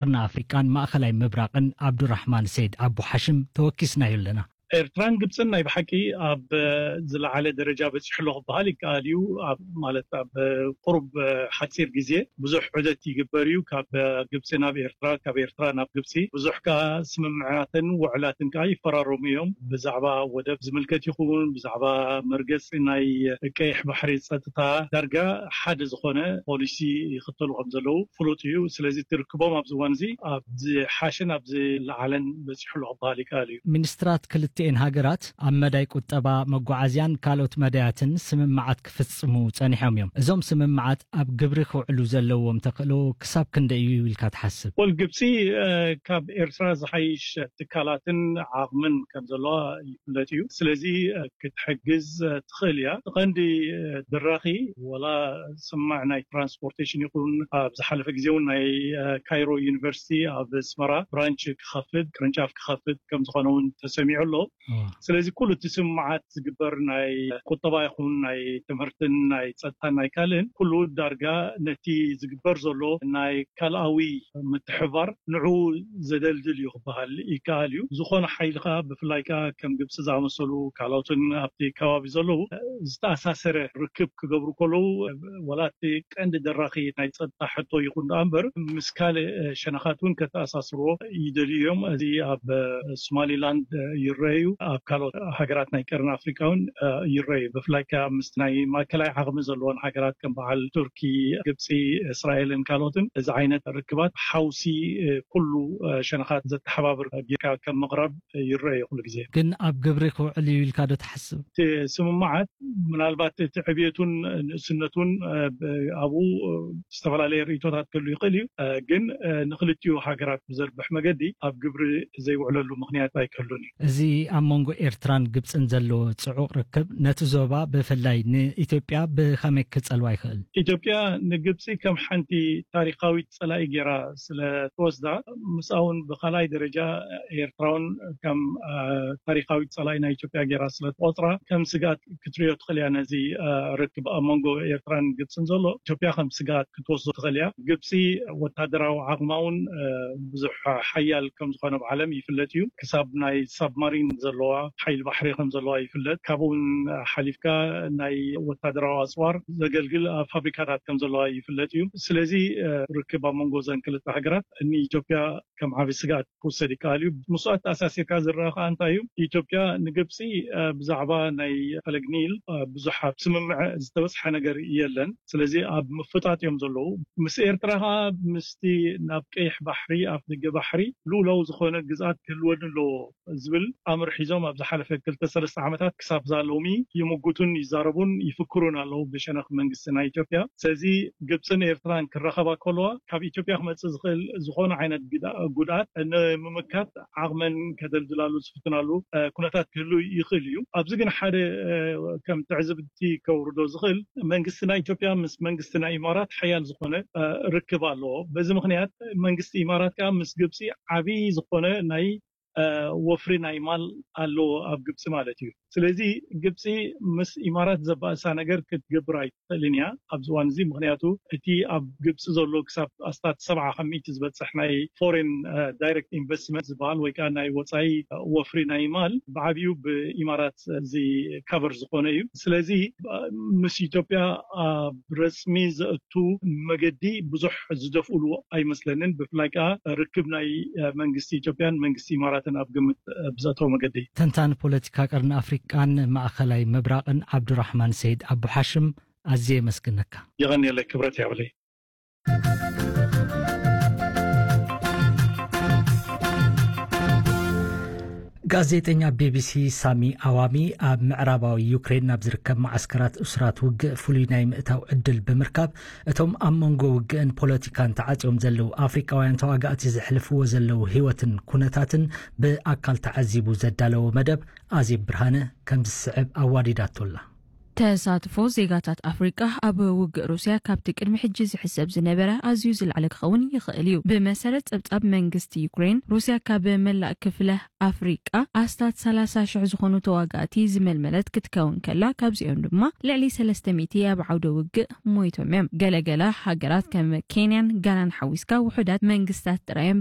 ቀርኒ ኣፍሪቃን ማእኸላይ ምብራቕን ዓብዱራሕማን ሰይድ ኣቡ ሓሽም ተወኪስናዮ ኣለና። ኤርትራን ግብፅን ናይ ብሓቂ ኣብ ዝለዓለ ደረጃ በፂሑ ኣሎ ክበሃል ይከኣል እዩ። ኣብ ማለት ኣብ ቁሩብ ሓፂር ግዜ ብዙሕ ዑደት ይግበር እዩ፣ ካብ ግብፂ ናብ ኤርትራ፣ ካብ ኤርትራ ናብ ግብፂ። ብዙሕ ከዓ ስምምዓትን ውዕላትን ከዓ ይፈራረሙ እዮም። ብዛዕባ ወደብ ዝምልከት ይኹን ብዛዕባ መርገፂ ናይ ቀይሕ ባሕሪ ጸጥታ፣ ዳርጋ ሓደ ዝኾነ ፖሊሲ ይኽተሉ ከም ዘለዉ ፍሉጥ እዩ። ስለዚ ትርክቦም ኣብዚ እዋን እዚ ኣብ ዝሓሸን ኣብ ዝለዓለን በፂሑ ኣሎ ክበሃል ይከኣል እዩ። ሚኒስትራት ክልቲኤን ሃገራት ኣብ መዳይ ቁጠባ፣ መጓዓዝያን ካልኦት መዳያትን ስምምዓት ክፍጽሙ ጸኒሖም እዮም። እዞም ስምምዓት ኣብ ግብሪ ክውዕሉ ዘለዎም ተኽእሎ ክሳብ ክንደይ እዩ ኢልካ ትሓስብ? ወል ግብፂ፣ እ፣ ካብ ኤርትራ ዝሓይሽ ትካላትን ዓቕምን ከም ዘለዋ ይፍለጥ እዩ። ስለዚ፣ እ፣ ክትሕግዝ፣ እ፣ ትኽእል እያ። እቲ ቀንዲ፣ እ፣ ድራኺ፣ ወላ ስማዕ ናይ ትራንስፖርቴሽን ይኹን፣ ኣብ ዝሓለፈ ግዜ እውን ናይ፣ እ፣ ካይሮ ዩኒቨርሲቲ ኣብ ኣስመራ ብራንች ክኸፍት፣ ቅርንጫፍ ክኸፍት ከም ዝኾነ እውን ተሰሚዑ ኣሎ። እዋ። ስለዚ ኩሉ እቲ ስምምዓት ዝግበር ናይ ቁጠባ ይኹን ናይ ትምህርትን ናይ ጸጥታን ናይ ካልእን ኩሉ ዳርጋ ነቲ ዝግበር ዘሎ ናይ ካልኣዊ ምትሕባር ንዑ ዘደልድል እዩ ክበሃል ይከኣል እዩ። ዝኾነ ሓይሊ ከኣ ብፍላይ ከኣ ከም ግብፂ ዝኣመሰሉ ካልኦትን ኣብቲ ከባቢ ዘለዉ ዝተኣሳሰረ ርክብ ክገብሩ ከለዉ ወላ እቲ ቀንዲ ደራኺ ናይ ጸጥታ ሕቶ ይኹን ደኣ እምበር ምስ ካልእ ሸነኻት እውን ከተኣሳስርዎ ይደልዩ እዮም። እዚ ኣብ ሶማሊላንድ ይረኣዩ፣ ኣብ ካልኦት ሃገራት ናይ ቀርኒ ኣፍሪቃ እውን ይረኣዩ። ብፍላይ ከኣ ምስ ናይ ማእከላይ ዓቕሚ ዘለዎን ሃገራት ከም በዓል ቱርኪ፣ ግብፂ፣ እስራኤልን ካልኦትን እዚ ዓይነት ርክባት ሓውሲ ኩሉ ሸነኻት ዘተሓባብር ጌርካ ከም ምቕራብ ይረኣዩ ኩሉ ግዜ። ግን ኣብ ግብሪ ክውዕል እዩ ኢልካ ዶ ትሓስብ? እቲ ስምምዓት ምናልባት እቲ ዕብየቱን ንእስነቱን፣ እ፣ ብ-፣ ኣብኡ፣ እ፣ ዝተፈላለየ ርእይቶታት ክህሉ ይኽእል እዩ። እ፣ ግን፣ እ፣ ንኽልቲኡ ሃገራት ብዘርብሕ መገዲ ኣብ ግብሪ ዘይውዕለሉ ምኽንያት ኣይክህሉን እዩ። እዚ ኣብ መንጎ ኤርትራን ግብጽን ዘሎ ጽዑቕ ርክብ ነቲ ዞባ ብፍላይ ንኢትዮጵያ ብኸመይ ክጸልዋ ይኽእል? ኢትዮጵያ ንግብጺ ከም ሓንቲ ታሪኻዊት ጸላኢ ጌራ ስለ ትወስዳ፣ ምስኣ እውን ብኻልኣይ ደረጃ ኤርትራ እውን ከም፣ እ፣ ታሪኻዊት ጸላኢ ናይ ኢትዮጵያ ጌራ ስለ ትቆጽራ ከም ስግኣት ክትሪኦ ትኽእል እያ። ነዚ፣ እ፣ ርክብ ኣብ መንጎ ኤርትራን ግብጽን ዘሎ ኢትዮጵያ ከም ስግኣት ክትወስዶ ትኽእል እያ። ግብጺ ወታደራዊ ዓቕማ እውን፣ እ፣ ብዙሕ ሓያል ከም ዝኾነ ኣብ ዓለም ይፍለጥ እዩ። ክሳብ ናይ ሳብማሪን ዘለዋ ሓይሊ ባሕሪ ከም ዘለዋ ይፍለጥ። ካብኡ እውን ሓሊፍካ ናይ ወታደራዊ ኣጽዋር ዘገልግል ፋብሪካታት ከም ዘለዋ ይፍለጥ እዩ። ስለዚ፣ እ፣ ርክብ ኣብ መንጎ እዘን ክልተ ሃገራት ንኢትዮጵያ ከም ዓቢ ስግኣት ክውሰድ ይከኣል እዩ። ምስኡ ኣተኣሳሲርካ ዝረኣ ከኣ እንታይ እዩ? ኢትዮጵያ ንግብጺ፣ እ፣ ብዛዕባ ናይ ፈለግ ኒል፣ እ፣ ብዙሕ ኣብ ስምምዕ ዝተበጽሐ ነገር የለን። ስለዚ ኣብ ምፍጣጥ እዮም ዘለዉ። ምስ ኤርትራ ከኣ ምስቲ ናብ ቀይሕ ባሕሪ፣ ኣፍ ደገ ባሕሪ ልኡላዊ ዝኾነ ግዝኣት ክህልወኒ ኣለዎ ዝብል ኣምር ሒዞም ኣብ ዝሓለፈ ክልተ ሰለስተ ዓመታት ክሳብ እዛ ሎሚ ይምጉቱን ይዛረቡን ይፍክሩን ኣለዉ ብሸነኽ መንግስቲ ናይ ኢትዮጵያ። ስለዚ ግብጽን ኤርትራን ክራኸባ ከለዋ ካብ ኢትዮጵያ ክመጽእ ዝኽእል ዝኾነ ዓይነት ግዳ-፣ ጉድኣት ንምምካት ዓቕመን ከደልድላሉ ዝፍትናሉ፣ እ፣ ኩነታት ክህሉ ይኽእል እዩ። ኣብዚ ግን ሓደ፣ እ፣ ከም ትዕዝብቲ ከውርዶ ዝኽእል መንግስቲ ናይ ኢትዮጵያ ምስ መንግስቲ ናይ ኢማራት ሓያል ዝኾነ፣ እ፣ ርክብ ኣለዎ። በዚ ምኽንያት መንግስቲ ኢማራት ከኣ ምስ ግብጺ ዓቢ ዝኾነ ናይ፣ እ፣ ወፍሪ ናይ ማል ኣለዎ ኣብ ግብጺ ማለት እዩ። ስለዚ ግብጺ ምስ ኢማራት ዘባእሳ ነገር ክትገብር ኣይትኽእልን እያ ኣብዚ እዋን እዚ። ምኽንያቱ እቲ ኣብ ግብጺ ዘሎ ክሳብ ኣስታት ሰብዓ ካብ ሚእቲ ዝበጽሕ ናይ ፎሬን፣ እ፣ ዳይሬክት ኢንቨስትመንት ዝበሃል ወይ ከኣ ናይ ወጻኢ፣ እ፣ ወፍሪ ናይ ማል ብዓብዩ ብኢማራት እዚ ካቨር ዝኾነ እዩ። ስለዚ፣ እ፣ ምስ ኢትዮጵያ ኣብ ረጽሚ ዘእቱ መገዲ ብዙሕ ዝደፍኡሉ ኣይመስለንን። ብፍላይ ከኣ ርክብ ናይ፣ እ፣ መንግስቲ ኢትዮጵያን መንግስቲ ኢማራትን ኣብ ግምት፣ እ፣ ብዘእተወ መገዲ። ተንታኒ ፖለቲካ ቀርኒ ኣፍሪቃን ማእኸላይ ምብራቕን ዓብዱራሕማን ሰይድ ኣቡ ሓሽም፣ ኣዝየ የመስግነካ። የቐንየለይ፣ ክብረት ይሃበለይ። ጋዜጠኛ ቢቢሲ ሳሚ ኣዋሚ ኣብ ምዕራባዊ ዩክሬን ናብ ዝርከብ መዓስከራት እሱራት ውግእ ፍሉይ ናይ ምእታው ዕድል ብምርካብ፣ እቶም ኣብ መንጎ ውግእን ፖለቲካን ተዓጽዮም ዘለዉ ኣፍሪቃውያን ተዋጋእቲ ዘሕልፍዎ ዘለዉ ህይወትን ኩነታትን ብኣካል ተዓዚቡ ዘዳለዎ መደብ ኣዜብ ብርሃነ ከም ዝስዕብ ኣዋዲዳቶ ኣላ። ተሳትፎ ዜጋታት ኣፍሪቃ ኣብ ውግእ ሩስያ ካብቲ ቅድሚ ሕጂ ዝሕሰብ ዝነበረ ኣዝዩ ዝለዓለ ክኸውን ይኽእል እዩ። ብመሰረት ጸብጻብ መንግስቲ ዩክሬን፣ ሩስያ ካብ መላእ ክፍለ ኣፍሪቃ ኣስታት ሰላሳ ሽሕ ዝኾኑ ተዋጋእቲ ዝመልመለት ክትከውን ከላ፣ ካብዚኦም ድማ ልዕሊ ሰለስተ ሚእቲ ኣብ ዓውደ ውግእ ሞይቶም እዮም። ገለገለ ሃገራት ከም ኬንያን ጋናን ሓዊስካ ውሑዳት መንግስታት ጥራይ እዮም